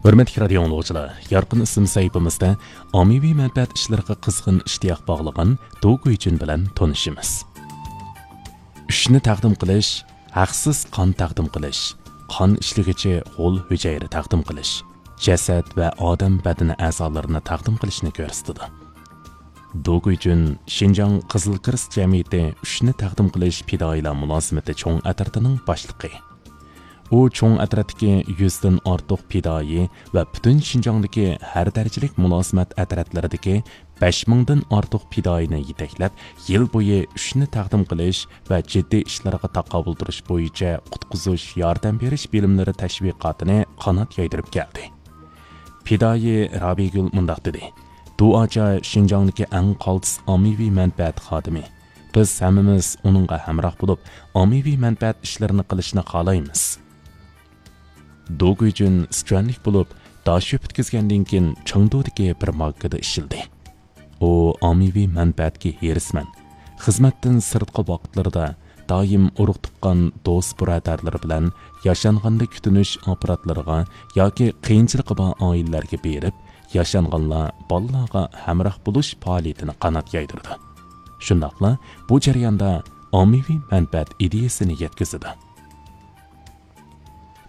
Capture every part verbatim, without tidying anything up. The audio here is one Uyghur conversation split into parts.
ھۆرمەتلىك رادىيو ئاڭلىغۇچىلار، يارقىن ئىسىم سەھىپىمىزدە ئاممىۋى مەنپەئەت ئىشلىرىغا قىزغىن ئىشتىياق باغلىغان دو گۇيجۈن بىلەن تونۇشىمىز. ئۈچنى تەقدىم قىلىش، ھەقسىز قان تەقدىم قىلىش، قان ئىشلىگۈچى غول ھۈجەيرە تەقدىم قىلىش، جەسەت ۋە ئادەم بەدىنى ئەزالىرىنى تەقدىم قىلىشنى كۆرسىتىدۇ. دو گۇيجۈن شىنجاڭ قىزىل كىرېست جەمئىيىتى ئۈچنى تەقدىم قىلىش پىدائىيلار مۇلازىمىتى چوڭ ئەترىتىنىڭ باشلىقى. ئۇ چوڭ ئەترەتتىكى يۈزدىن ئارتۇق پىدائىي ۋە پۈتۈن شىنجاڭدىكى ھەر دەرىجىلىك مۇلازىمەت ئەترەتلىرىدىكى بەش مىڭدىن ئارتۇق پىدائىينى يېتەكلەپ، يىل بويى ئۈچنى تەقدىم قىلىش ۋە جىددىي ئىشلارغا تاقابىل تۇرۇش بويىچە قۇتقۇزۇش ياردەم بېرىش بىلىملىرى تەشۋىقاتىنى قانات يايدۇرۇپ كەلدى. پىدائىي رابىيگۈل مۇنداق دېدى: دۇئاچا شىنجاڭدىكى ئەڭ قالتىس ئاممىۋى مەنپەئەت خادىمى. بىز ھەممىمىز ئۇنىڭغا ھەمراھ بولۇپ، ئاممىۋى مەنپەئەت ئىشلىرىنى قىلىشنى خالايمىز. دو گۇيجۈن سىچۈەنلىك بولۇپ، داشۆ پۈتكۈزگەندىن كېيىن چېڭدۇدىكى بىر بانكىدا ئىشلىدى. ئۇ ئاممىۋى مەنپەئەتكە ھېرىسمەن. خىزمەتتىن سىرتقى ۋاقىتلىرىدا دائىم ئۇرۇق تۇغقان دوست بۇرادەرلىرى بىلەن ياشانغاندا كۈتۈنۈش ئاپپاراتلىرىغا ياكى قىيىنچىلىقى بار ئائىلىلەرگە بېرىپ، ياشانغانلار، بالىلارغا ھەمراھ بولۇش پائالىيىتىنى قانات يايدۇرىدۇ. شۇنداقلا بۇ جەرياندا ئاممىۋى مەنپەئەت ئىدىيەسىنى يەتكۈزىدۇ.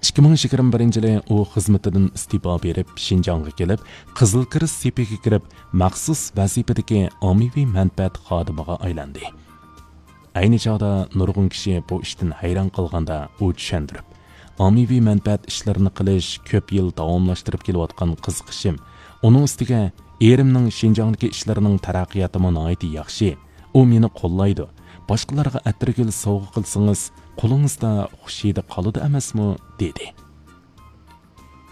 ئىككى مىڭ يىگىرمە بىرىنچى يىلى ئۇ خىزمىتىدىن ئىستېپا بېرىپ، شىنجاڭغا كېلىپ، قىزىل كىرېست سېپىگە كىرىپ، مەخسۇس ۋەزىپىدىكى ئاممىۋى مەنپەئەت خادىمىغا ئايلاندى. ئەينى چاغدا نۇرغۇن كىشى بۇ ئىشتىن ھەيران قالغاندا، ئۇ چۈشەندۈرۈپ، ئاممىۋى مەنپەئەت ئىشلىرىنى قىلىش كۆپ يىل داۋاملاشتۇرۇپ كېلىۋاتقان قىزىقىشىم، ئۇنىڭ ئۈستىگە ئېرىمنىڭ شىنجاڭدىكى ئىشلىرىنىڭ تەرەققىياتىمۇ ناھايىتى ياخشى، ئۇ مېنى قوللايدۇ، باشقىلارغا ئەتىرگۈل سوۋغا قىلسىڭىز، قولىڭىزدا خۇش ھىدى قالىدۇ ئەمەسمۇ؟ دېدى.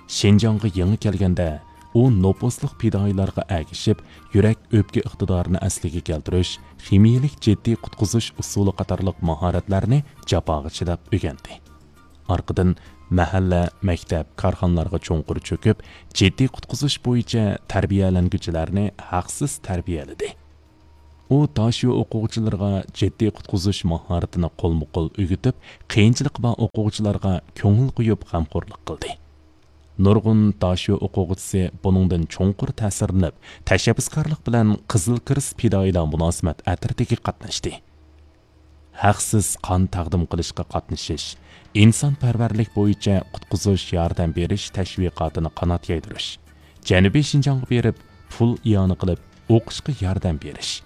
شىنجاڭغا يېڭى كەلگەندە، ئۇ نوپۇسلۇق پىدائىيلارغا ئەگىشىپ، يۈرەك ئۆپكە ئىقتىدارىنى ئەسلىگە كەلتۈرۈش، خىمىيىلىك جىددىي قۇتقۇزۇش ئۇسۇلى قاتارلىق ماھارەتلەرنى جاپاغا چىداپ ئۆگەندى. ئارقىدىن مەھەللە، مەكتەپ، كارخانىلارغا چوڭقۇر چۆكۈپ، جىددىي قۇتقۇزۇش بويىچە تەربىيەلەنگۈچىلەرنى ھەقسىز تەربىيەلىدى. ئۇ داشۆ ئوقۇغۇچىلىرىغا جىددىي قۇتقۇزۇش ماھارىتىنى قولمۇ قول ئۆگىتىپ، قىيىنچىلىقى بار ئوقۇغۇچىلارغا كۆڭۈل قويۇپ غەمخورلۇق قىلدى. نۇرغۇن داشۆ ئوقۇغۇچىسى بۇنىڭدىن چوڭقۇر تەسىرلىنىپ، تەشەببۇسكارلىق بىلەن قىزىل كىرېست پىدائىيلار مۇلازىمەت ئەترىتىگە قاتناشتى. ھەقسىز قان تەقدىم قىلىشقا قاتنىشىش، ئىنسانپەرۋەرلىك بويىچە قۇتقۇزۇش ياردەم بېرىش تەشۋىقاتىنى قانات يايدۇرۇش، جەنۇبىي شىنجاڭغا بېرىپ، پۇل ئىئانە قىلىپ، ئوقۇشقا ياردەم بېرىش.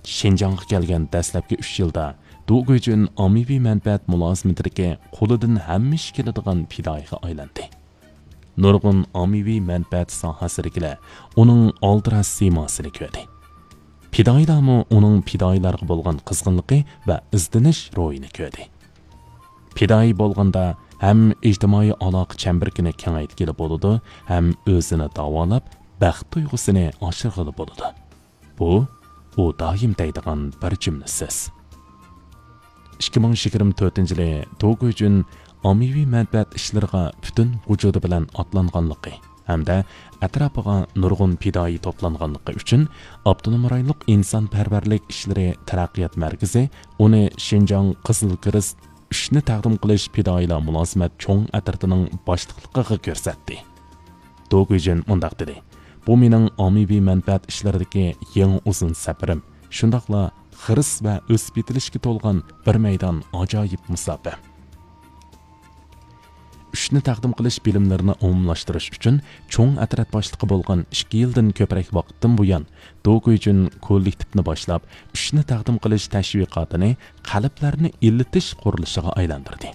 شىنجاڭغا كەلگەن دەسلەپكى ئۈچ يىلدا دۇ گۇيجۈن ئاممىۋى مەنپەئەت مۇلازىمىتىدىكى قولىدىن ھەممە ئىش كېلىدىغان پىدائىيغا ئايلاندى. نۇرغۇن ئاممىۋى مەنپەئەت ساھەسىدىكىلەر ئۇنىڭ ئالدىراش سىيماسىنى كۆردى. پىدائىيلارمۇ ئۇنىڭ پىدائىيلارغا بولغان قىزغىنلىقى ۋە ئىزدىنىش روھىنى كۆردى. پىدائىي بولغاندا ھەم ئىجتىمائىي ئالاقە چەمبىرىكىنى كېڭەيتكىلى بولىدۇ، ھەم ئۆزىنى داۋالاپ، بەخت تۇيغۇسىنى ئاشۇرغىلى بولىدۇ. بۇ، ئۇ دائىم دەيدىغان بىر جۈملە سۆز. ئىككى مىڭ يىگىرمە تۆتىنچى يىلى دو گۇيجۈن ئاممىۋى مەنپەئەت ئىشلىرىغا پۈتۈن ۋۇجۇدى بىلەن ئاتلانغانلىقى ھەمدە ئەتراپىغا نۇرغۇن پىدائىي توپلانغانلىقى ئۈچۈن، ئاپتونوم رايونلۇق ئىنسانپەرۋەرلىك ئىشلىرى تەرەققىيات مەركىزى ئۇنى شىنجاڭ قىزىل كىرېست ئۈچنى تەقدىم قىلىش پىدائىيلار مۇلازىمەت چوڭ ئەترىتىنىڭ باشلىقلىقىغا كۆرسەتتى. دو گۇيجۈن مۇنداق دېدى: بۇ مېنىڭ ئاممىۋى مەنپەئەت ئىشلىرىدىكى يېڭى ئۇزۇن سەپىرىم، شۇنداقلا خىرىس ۋە ئۆسۈپ يېتىلىشكە تولغان بىر مەيدان ئاجايىپ مۇساپە. ئۈچنى تەقدىم قىلىش بىلىملىرىنى ئومۇملاشتۇرۇش ئۈچۈن چوڭ ئەترەت باشلىقى بولغان ئىككى يىلدىن كۆپرەك ۋاقىتتىن بۇيان، دو گۇيجۈن كوللېكتىپنى باشلاپ، ئۈچنى تەقدىم قىلىش تەشۋىقاتىنى قەلبلەرنى ئىللىتىش قۇرۇلۇشىغا ئايلاندۇردى.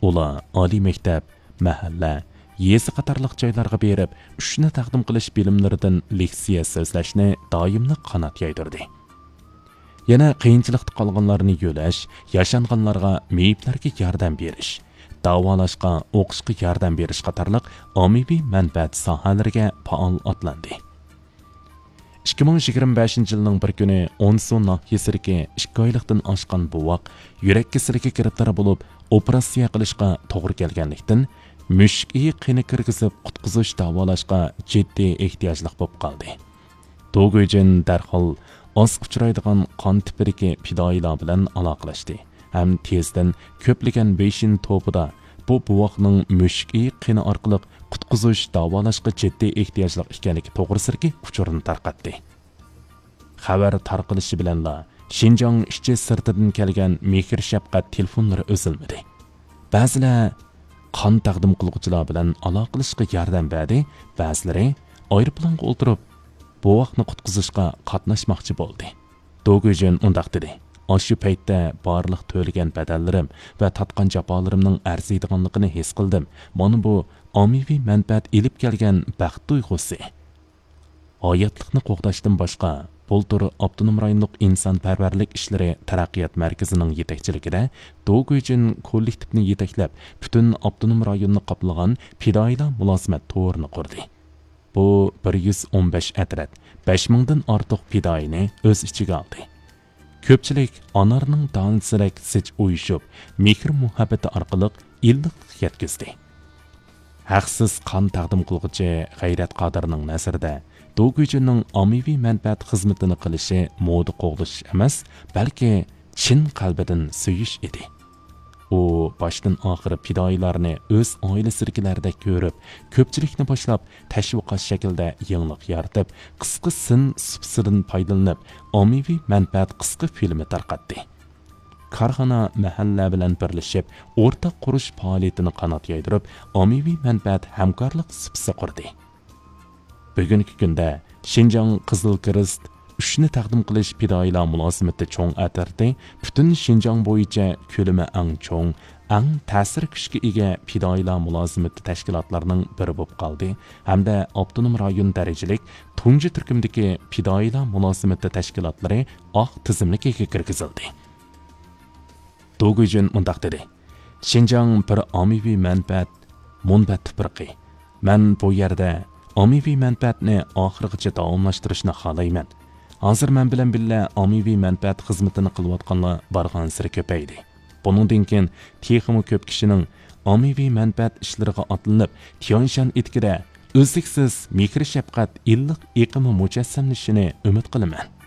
ئۇلار ئالىي مەكتەپ، مەھەللە، يېزا قاتارلىق جايلارغا بېرىپ، ئۈچنى تەقدىم قىلىش بىلىملىرىدىن لېكسىيە سۆزلەشنى دائىملىق قانات يايدۇردى. يەنە قىيىنچىلىقتا قالغانلارنى يۆلەش، ياشانغانلارغا، مېيىپلەرگە ياردەم بېرىش، داۋالاشقا، ئوقۇشقا ياردەم بېرىش قاتارلىق ئاممىۋى مەنپەئەت ساھەلىرىگە پائال ئاتلاندى. ئىككى مىڭ يىگىرمە بەشىنچى يىلنىڭ بىر كۈنى ئونسۇ ناھىيەسىدىكى ئىككى ئايلىقتىن ئاشقان بوۋاق يۈرەك كېسىلىگە گىرىپتار بولۇپ، ئوپېراتسىيە قىلىشقا توغرا كەلگەنلىكتىن، مۈشۈك ئېيى قېنى كىرگۈزۈپ قۇتقۇزۇش داۋالاشقا جىددىي ئېھتىياجلىق بولۇپ قالدى. دو گۇيجىن دەرھال ئاز ئۇچرايدىغان قان تىپىدىكى پىدائىيلار بىلەن ئالاقىلەشتى ھەم تېزدىن كۆپلىگەن ۋېيشىن توپىدا بۇ بوۋاقنىڭ مۈشۈك ئېيىق قېنى ئارقىلىق قۇتقۇزۇش، داۋالاشقا جىددىي ئېھتىياجلىق ئىكەنلىكى توغرىسىدىكى ئۇچۇرنى تارقاتتى. خەۋەر تارقىلىشى بىلەنلا، شىنجاڭ ئىچى سىرتىدىن كەلگەن مېھىر-شەپقەت تېلېفونلىرى ئۈزۈلمىدى. بەزىلەر قان تەقدىم قىلغۇچىلار بىلەن ئالاقىلىشىشقا ياردەم بەردى، بەزىلىرى ئايروپىلانغا ئولتۇرۇپ، بوۋاقنى قۇتقۇزۇشقا قاتناشماقچى بولدى. دوگۈجۈن مۇنداق دېدى: «ئاشۇ پەيتتە بارلىق تۆلىگەن بەدەللىرىم ۋە تارتقان جاپالىرىمنىڭ ئەرزىيدىغانلىقىنى ھېس قىلدىم. مانا بۇ ئاممىۋى مەنپەئەت ئېلىپ كەلگەن بەخت تۇيغۇسى.» ھاياتلىقنى قوغداشتىن باشقا، بۇلتۇر ئاپتونوم رايونلۇق ئىنسانپەرۋەرلىك ئىشلىرى تەرەققىيات مەركىزىنىڭ يېتەكچىلىكىدە دوگۈجۈن كوللېكتىپنى يېتەكلەپ، پۈتۈن ئاپتونوم رايوننى قاپلىغان پىدائىيلار مۇلازىمەت تورىنى قۇردى. بۇ بىر يۈز ئون بەش ئەترەت، بەش مىڭدىن ئارتۇق پىدائىينى ئۆز ئىچىگە ئالدى. كۆپچىلىك ئانارنىڭ دانىسىدەك زىچ ئۇيۇشۇپ، مېھىر-مۇھەببىتى ئارقىلىق ئىللىقلىق يەتكۈزدى. ھەقسىز قان تەقدىم قىلغۇچى غەيرەت قادىرنىڭ نەزىرىدە، دوگۈجۈننىڭ ئاممىۋى مەنپەئەت خىزمىتىنى قىلىشى مودا قوغلىشىش ئەمەس، بەلكى چىن قەلبىدىن سۆيۈش ئىدى. ئۇ باشتىن ئاخىر پىدائىيلارنى ئۆز ئائىلىسىدىكىلەردەك كۆرۈپ، كۆپچىلىكنى باشلاپ، تەشۋىقات شەكلىدە يېڭىلىق يارىتىپ، قىسقا سىن سۇپىسىدىن پايدىلىنىپ، ئاممىۋى مەنپەئەت قىسقا فىلىمى تارقاتتى. كارخانا، مەھەللە بىلەن بىرلىشىپ، ئورتاق قۇرۇش پائالىيىتىنى قانات يايدۇرۇپ، ئاممىۋى مەنپەئەت ھەمكارلىق سۇپىسى قۇردى. بۈگۈنكى كۈندە شىنجاڭ قىزىل كىرېست ئۈچنى تەقدىم قىلىش پىدائىيلار مۇلازىمىتى چوڭ ئەترىتى پۈتۈن شىنجاڭ بويىچە كۆلىمى ئەڭ چوڭ، ئەڭ تەسىر كۈچكە ئىگە پىدائىيلار مۇلازىمىتى تەشكىلاتلىرىنىڭ بىرى بولۇپ قالدى ھەمدە ئاپتونوم رايون دەرىجىلىك تۇنجى تۈركۈمدىكى پىدائىيلار مۇلازىمىتى تەشكىلاتلىرى ئاق تىزىملىكىگە كىرگۈزۈلدى. دوگۈجۈن مۇنداق دېدى: «شىنجاڭ بىر ئاممىۋى مەنپەئەت مۇنبەت تۇپرىقى. مەن بۇ يەردە ئاممىۋى مەنپەئەتنى ئاخىرغىچە داۋاملاشتۇرۇشنى خالايمەن. ھازىر مەن بىلەن بىللە ئاممىۋى مەنپەئەت خىزمىتىنى قىلىۋاتقانلار بارغانسېرى كۆپەيدى. بۇنىڭدىن كېيىن تېخىمۇ كۆپ كىشىنىڭ ئاممىۋى مەنپەئەت ئىشلىرىغا ئاتلىنىپ، تيەنشان ئېتىكىدە ئۈزلۈكسىز مېھىر-شەپقەت ئىللىق ئېقىمى مۇجەسسەملىشىنى ئۈمىد قىلىمەن.»